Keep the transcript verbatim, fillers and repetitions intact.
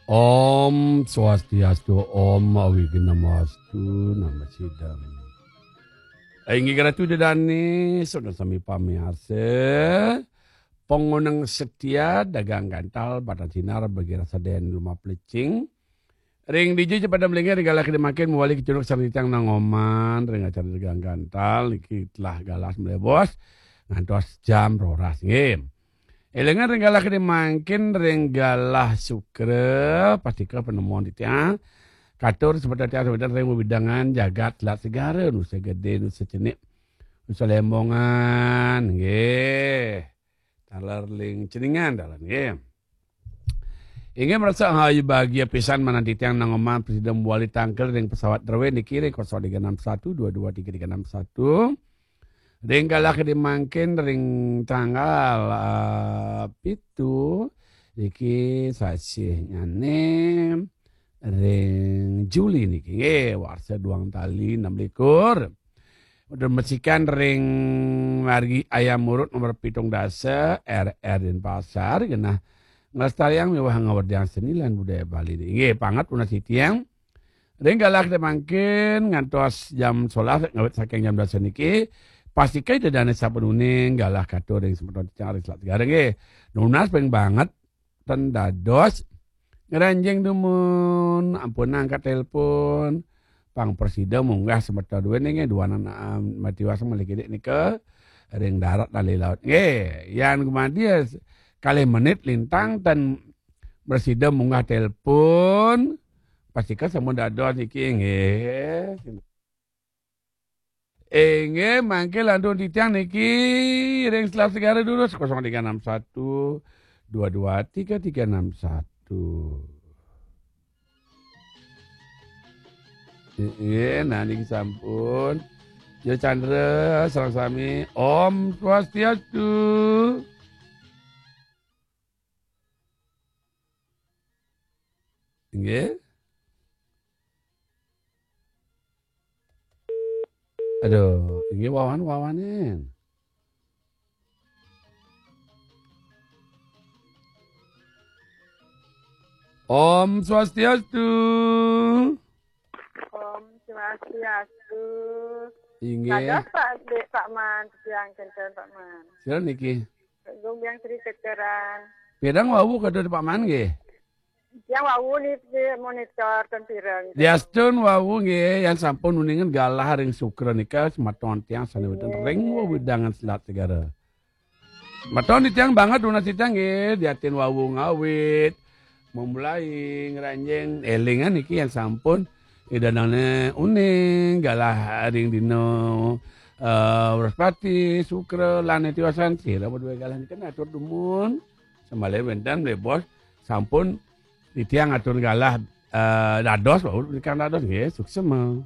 Om Swastiastu, Om Awighnamastu, Namo Siddham. Inggih Ratu Ida Dané, saha sami pamiarsa, pangoneng setia, dagang gantal, batang sinar, bagi rasa den lumaplecing. Ring dija pada melingin, ring galah gedé mangkin, mawali kecunduk sareng titiang nangoman, ring acara dagang gantal, niki telah galah melebos, ngantos jam roras, nggih. Élingan ring galah gedé mangkin ring galah Sukra, pastika panemuan titiang. Katur semeton titiang semeton ring wewidangan jagat Selat Segara, Nusa Gedé, Nusa Cenik, Nusa Lembongan, nggih. Taler ring Ceningan, taler, nggih. Inggih marasa rahayu bagia pisan manah titiang nangoman prasida mawali tangkil ring pesawat Drewe niki ring kosong tiga enam satu dua dua tiga tiga enam satu. Ring galah gedé mangkin ring tanggal, ah, pitu, niki sasihnyané ring Juli niki, nggih, warsa duang tali enam likur. Udah mesikan ring margi Ayam Urut nomor pitung dasa, R R Denpasar, genah nglestariang miwah ngawerdiang seni lan budaya Bali. Inggih, pangkat nunas titiang. Ring galah gedé mangkin ngantos jam solas ngawit saking jam dasa niki, pastika Ida Dané sampun uning galah katur ring semeton titiang ring Selat Segara nggih. Nunas ping banget ten dados ngranjing dumun, ampun angkat telepon. Pang prasida munggah semeton duwé nggih duanan, ah, matiwas malih kidik nika ring darat lan laut. Nggih, yan gumanti kalih menit lintang ten prasida munggah telepon, pastika sampun dados niki, nggih. Inggih, mangke lantur titiang niki ring Selat Segara durus kosong tiga enam satu dua dua tiga tiga enam satu. Inggih, nah niki sampun. Ya Chandra, sareng sami. Om Swastiastu. Inggih. Aduh, inggih wawan-wawanin. Om Swastiastu. Om Swastiastu. Inggih. Dados Pak Dik, Pak Man, titiang kénten Pak Man. Sira niki? Gung Biang Sri Ceceran. Pirang wau kados Pak Man nggih? Yang wau niki monitor ten pirang. Diastun wau nggih, yang sampun uningan galah ring Sukra nika semeton tiang sané wénten ring wewidangan Selat Segara. Semeton titiang banget nunas titiang nggih, diatin wau ngawit. Memulai ngranjing élingan niki yang sampun Ida Dané uning galah ring dina, eh, Wrespati, Sukra, lan tiwasan sira madué galah nika atur dumun. Samaliha wénten malih bos sampun titiang atur galah, eh, dados, wau titiang dados nggih, suksma.